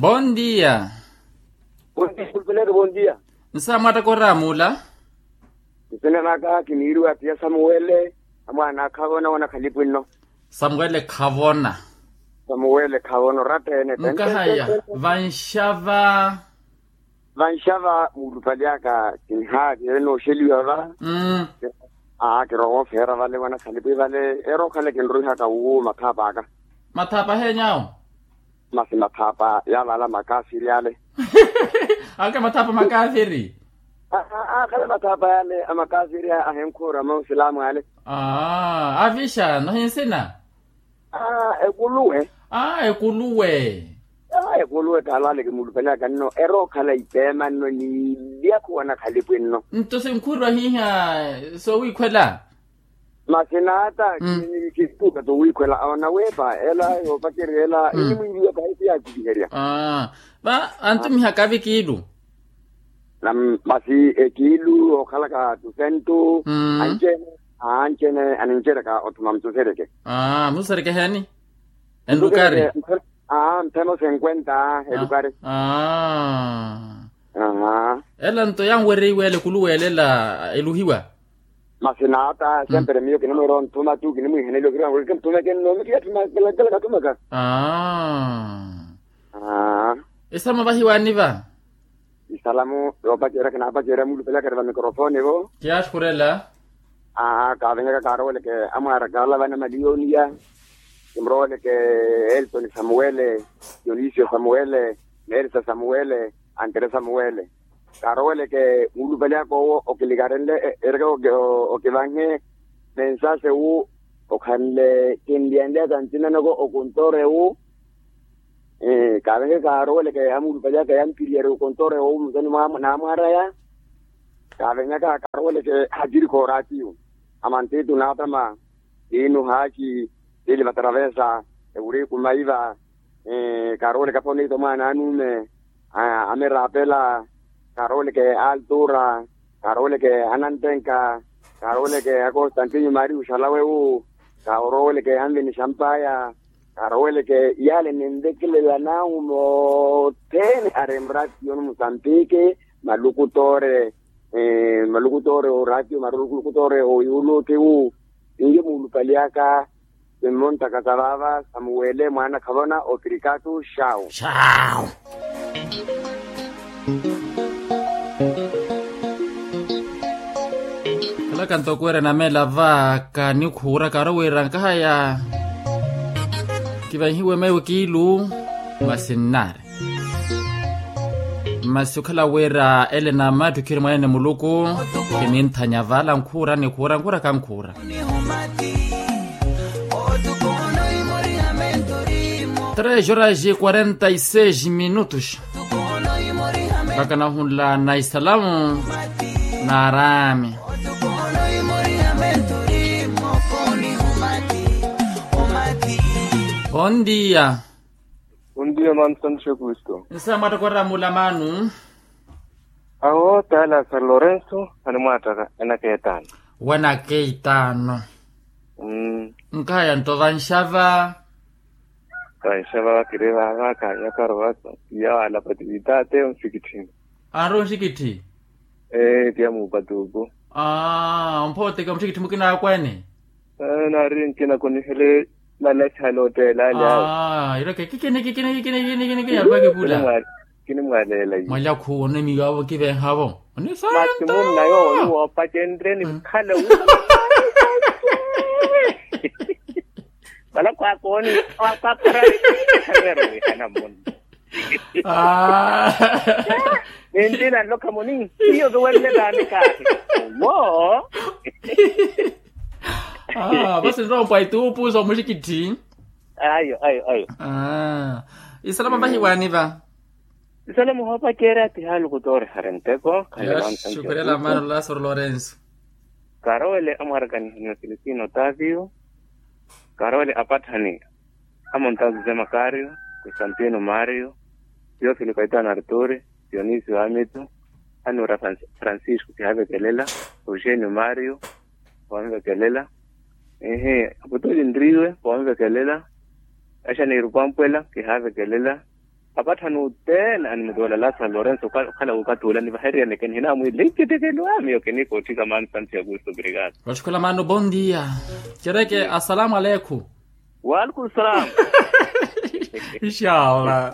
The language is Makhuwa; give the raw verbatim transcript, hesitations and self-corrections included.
Bondia. Bondia. Nsaamwatta koraamula. Nsina naka kiniiriwa tiya samuwele, amwaana akhavona wanakhalipwinno. Samuwele khavona. Samuwele khavona oratta ene. Nkahaya vanxava. Vanxava muulupali aka kinhaati enooxeliwa va. Aa kirowa ofeera vale wanakhalipwi vale, erookhala kinrwihaka wuwo mathaapa aka. Mathaapa heenyawo? Masi mathaapa yaavala makaafiri ale. Ake mathaapa makaafiri. Akhale mathaapa yale a makaafiri ahenkhuura ma usilaamu ale. Avixa no hinsina. Ekuluwe. Ekuluwe. Ekuluwe taala ale kimuulupelaka nno erookhala ipeema nno ni ilyakhu wanakhalipwi nno. Nto sinkhurwa hiiha soowiikhwela. Masi naata kistuuka towiikhwela awo naweepa ela yoopacerya ela enimwiiviwa pahi siyaatikiherya. Va antumihaka avi kiilu. Masi ekiilu ookhalaka tusentu. Anci-ene anci-ene aninceryaka othuma mususeryeke. Mususeryeke heeni? Enlukari. Mphemo senkwenta elukari. Ela nto yanwereiwa ele ekuluwe ele ela eluhiwa. Masi naata sempre miyo kinimwiira onthuma tu kinimwiihaneliwa kiriwanweke nthumeke nno mikiyatthumakela kathumaka. Isalamu vahiwaani va. Isalamu yoopacerya kinaapacerya muulupelaka eri va mikorofoni vo. Kiyaaxukhurela. Kaavenyaka kaaroweleke amwaaraka alavana maliyoniya. Kimuroweleke elton samuwele, dionisio samuwele, nelsa samuwele, antere samuwele. Kaaroweleke muulupaliyaka owo okilikarenle ereke okivanhe. Mensase wu okhanle kinliyanlyaka ncinanoko okuntoore wu. Kaavenyaka kaaroweleke amuulupaliyaka yamphiriyari okuntoore wu musoni naamwaraya. Kaavenyaka kaaroweleke hacirikha oraatiyo amantitu naatama. Tiinu haaci tili vataravensa ewuriku maiva. Kaarooleke aphoniita omwaana anuume amirapela. Kaarooleke altura. Kaarooleke anantenka. Kaarooleke akonstantinio mario xalawe wu. Kaarooleke anvini xampaya. Kaarooleke yaale ninvekelela naahuma othene ari mratiyoni musambiki. Malukutoore malukutoore oraatiyo malukutoore oyuuluti wu. Ninyo muulupaliyaka. Simmontaka sa vaava samuwele mwaana khavona opirikatu xawu. Xawu. Khalaka ntoko wira namela va kanikhuura kaaro wira nkahaya. Kivanhiwe meiwo kiilu. Masi nnaari. Masi okhala wira ele na mattu khiri mwanene muluku. Kininthanya vala nkhuura nikhuura nkhuura kankhuura. Tres horas e quarenta e seis minutos. Mpaka nahunla na isalamu na araami. Bon dia. Bon dia mano santo xekristu. Nsaamwatta koramula mano. Awo taala san lorenso animwaattaka enaka etaano. Wanaka etaano. Nkahaya nto vanxava. Vanxava kiri vaava kaanyakaro vaka. Iya waalapati vitaateyo nsikitthini. Anrowa onsikitthi. Ee tiya muupatuuku. Aa omphooteka mutthikitthi mukina akwane. Naari nkina kunihele. Nalekhala otteela ali awo. Ireke kikini kikini kikini kikini kikini alupakipula. Kinimwaleela iye. Mwalya khuwo onemiyo awo kivenhavo. Masi munna yooyu woopacenrye nikhala wu. Vala kwakooni kwakhara. Khaveero wihana munna. Ninti nanlokha muni. Iyo tuwenle taani kaahi. Wo. Vasi nrompwa ituupu soomuxikitthi. Ayo ayo ayo. Isalama vahiwaani va. Isalama ohoopacerya ti haaluku toorihari nteko. Khaxukhurela mano lasoro lorenso. Kaarowele amwaarakanihaniwa filistino otavio. Kaarowele apatthani. Amonta josé makario, constantino mario, teofilo kaitano arturi, dionisio amitu, anura francisco kihaavekelela, eugenio mario, kihaavekelela. Ehe aputoli nriiwe kihaavekelela. Axaneiru pampwela kihaavekelela. Apatthani othene animutoola lasaro lorenso okhala wookathi ola nivahereryaneke nihinamwiile nkitekelo ami yo kiniikootthika maani santiago esto brigada. Vatthukhula maano bondia. Cereke assalamu aleikhu. Waalaikum salam. Inshallah.